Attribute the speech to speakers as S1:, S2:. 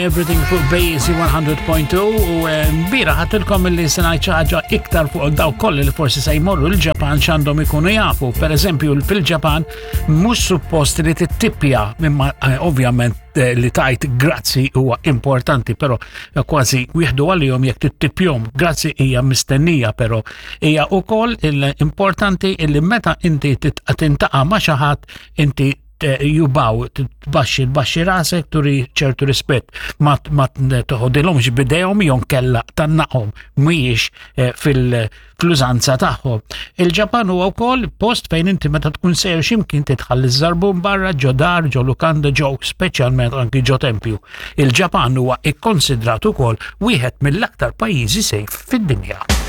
S1: Everything fuq Basie 100.2 u eh, bira ħatilkom li se ngħid xi ħaġa iktar fuq daw koll li forsi se jmorru l-Ġapan x'għandhom ikunu jafu. Per eżempju, fil-Ġapan mhux suppost li tittipja imma eh, ovvjament eh, li tajt grazzi huwa importanti, però kważi wieħdu għalihom jekk tittipjhom. Grazzi hija mistennija, però hija wkoll importanti li meta inti tintaqa' ma' xi ħadd inti jubaw, tbaxxi tbaxxi rasek turi ċertu rispett ma toħodilhomx bidejhom jew kella tannaqhom mhijiex eh, fil-użanza tagħhom. Il-Ġapan huwa wkoll post fejn inti meta tkun sejjer x'imkien titħalli żarbun barra ġo dar, ġo lukanda, ġo speċjalment anki ġo tempju. Il-Ġapan huwa ikkonsidrat ukoll wieħed mill-aktar pajjiżi sejf fid-dinja.